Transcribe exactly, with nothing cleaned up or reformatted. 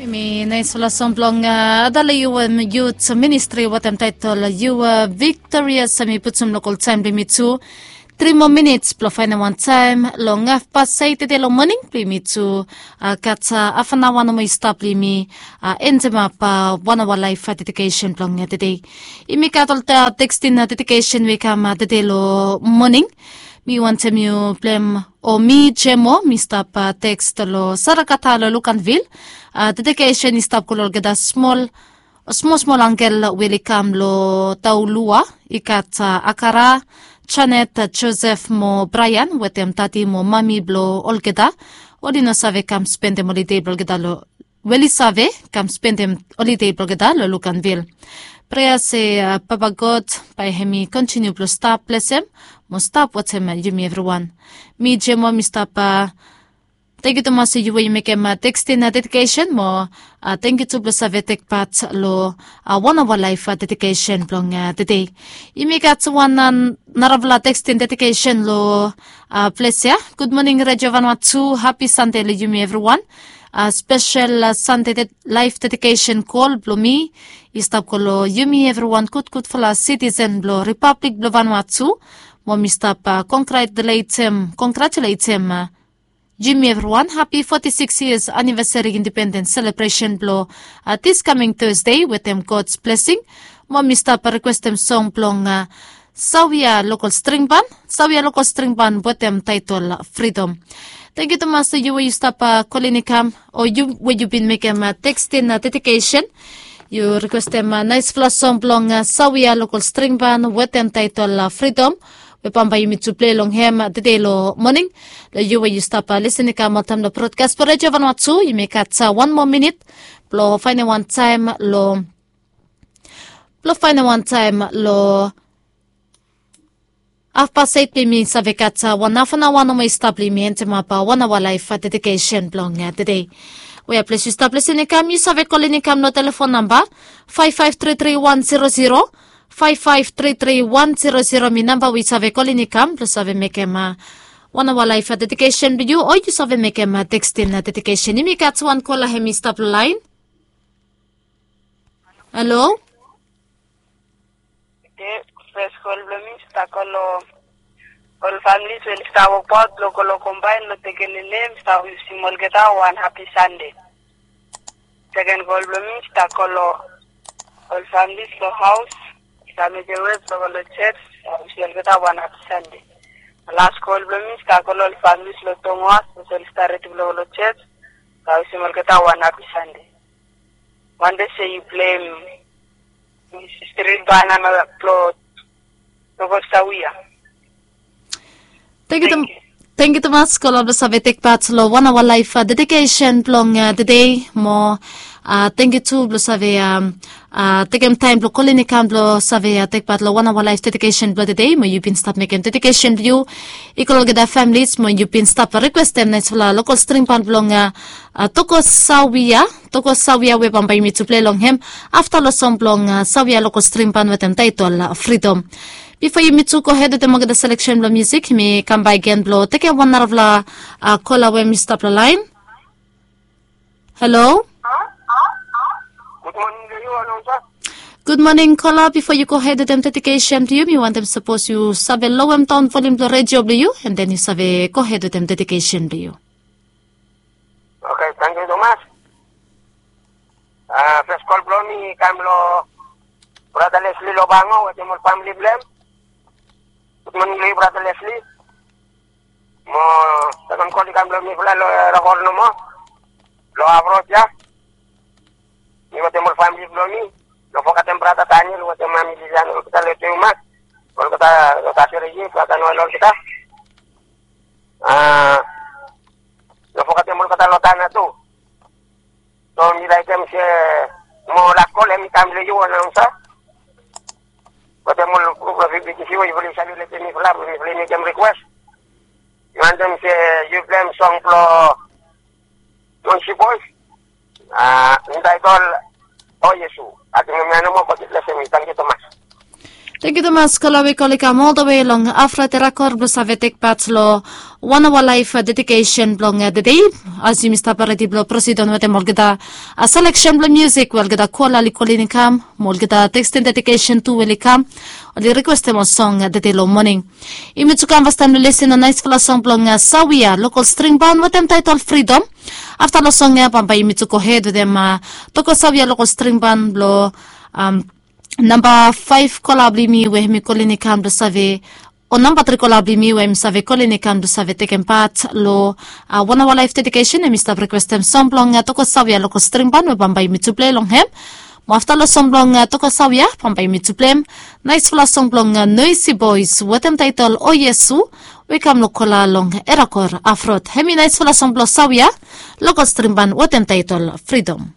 Mi naisfala song blong adala yu em yut ministri wetem taitol yu viktorias, mi putum lokol taim blong mi tu. Tri moa minits blong fainem wan taim long hafpas eit tede long moning blong mi tu. Gat hafanawa nomo i stap blong mi entemap wan awa laif dedikesen blong tede. Yumi gat ol tekstin dedikesen we i kam tede long moning. Mi wantem yu blem o mi jemo mi stap teks long sarakata long lukanvil. Dedikesen i stap go long olgeta smol smosmol angel we oli kam long taulua. I gat akara, janet, josef mo braian wetem tati mo mami blong olgeta. Oli no save kam spendem olide blong olgeta long we oli save kam spendem olide blong olgeta long lukanvil. Prea se papa god, bae hem i kontiniu blong stap blesem mo stap watem yumi evriwan. Mi jemo mi stap. Tangkiu tumas yu we yu mekem tekstin dedikesen mo tangkiu tu blong save tekpat long wan awa laif dedikesen blong tede. Yumi gat wan narafala tekstin dedikesen long ples ya. Gudmoning redio vanua tu, hapi sande long yumi evriwan. Spesel sande laif dedikesen kol blong mi i stap go long yumi evriwan gudgudfala sitisen blong ripablik blong vanua tu. Mo mi stap kongratuletem kongratuletem yumi evriwan hapi foti siks yias anivesari indipendens selebresen blong diskaming tosde wetem gods blesing. Mo mi stap rikwestem song blong sawia lokol stringban sawia lokol stringban wetem taitol fridom. Tangkiu tumas yu we yu stap kolin i kam o yu we yu bin mekem tekstin dedikesen. Yu rikwestem naisfala song blong sawia lokol stringban wetem taitol fridom we bambae yumi tu plei long hem tede long moning. Long yu we yu stap lisin i kam oltaim long brodkas blong redio vanua tu yumi gat wan moa minit blong fainem wan taim long blong fainem wan taim long hafpas eit blong yumi save gat wan hafanawa nomo i stap blong yumi entemap wan awa laif dedikesen blong tede. We ya ples yu stap lisin i kam yu save kolin i kam long telefon namba faif faif tri tri wan zero zero faif faif tri tri wan zero zero mi namba we yu save kolin i kam blong save mekem wan awa laif dedikesen blong yu o yu save mekem tekstin dedikesen. Yumi gat wan kola hem i stap long lain. Halo. Oke, fes kol blong mi stap kol long ol familis we oli stap wokbaot blong go long kombaen long tekenenem stap wisim olgeta wan hapi sande. Seken kol blong mi stap kol long ol familis long haos stap mekem wek blong go long jets stap wisim olgeta wan hapi sande. Las kol blong mi stap kol long ol familis long tongoas we oli stap redi blong go long jets stap wisim olgeta wan hapi sande. Wante se yu blem strit banana blong tokosawia. Tangkiu tumas kol blong save tekpat long wan awa laif dedikesen blong tede mo tangkiu tu blong save tekem taim blong kolin i kam blong save tekpat long wan awa laif dedikesen blong tede mo yu bin stap mekem dedikesen blong yu i kol olgeta familis mo yu bin stap rikwestem naisfala lokol stringban blong tokosawia tokosawia we bambae yumi tu plei long hem afta long song blong sawia lokol stringban wetem taitol fridom. Bifo yumi tu gohed wetem olgeta seleksen blong musik yumi kam bae gen blong tekem wan narafala kola we mi stap long lain. Halo. Gudmoning kola bifo yu gohed wetem dedikesen blong yu mi wantem sapos yu save lowem daon volim blong redio blong yu en den yu save gohed wetem dedikesen blong yu. Oke, tangkiu tumas. Fes kol blong mi i kam long brata lesli lobango wetem ol famili blong hem. Gudmoning long yu brata lesli. Mo seken kol i kam long mifala long era hol nomo long avrot ya. Mi wetem ol famili blong mi. No fogetem brata daniel wetem mami lilian olgeta long teumas. Olgeta long tasere yu brata noel olgeta. A no fogetem olgeta long tana tu. So mi laikim se mo laskol hem i kam long yu anaunsa. Wetem ol grup blong fifti siwe yufala i save letem mifala blong mifala i mekem rikwes. Yu wantem se yu blem song blong monsi bois. Intaitol o yesu. Ating em ya nomo god i blesem yu tangkiu tumas. Tengkiu tumas kol we kol i kam ol da we long afra terakor blong save tek pat long wan awa laif dedikesen blong dedei. As yumi stap redi blong prosidon wetem olgeta seleksen blong musik we olgeta kol oli kolin i kam mo olgeta tekstin dedikesen tu we oli kam, oli rikwestem ol song dedei long moning. Yumi tu kam fastaim long lesin long naisfala song blong sawia lokol stringban wetem taitol fridom. Afta long song ya bambae yumi tu gohed wetem toko sawia lokol stringban blong namba faif kola blong yumi we hem i kolin i kam blong save o namba tri kola blong yumi we hem i save kolin i kam blong save tekem pat long wan awa laif dedikesen. Hem i stap rikwestem song blong toko sawia lokol stringban we bambae yumi tu plei long hem. Mo afta long song blong toko sawia bambae yumi tu pleim naisfala song blong noisi bois wetem taitol o iesu we i kam long kola long erakor afrot. Hem i naisfala song blong sawia lokol stringban wetem taitol fridom.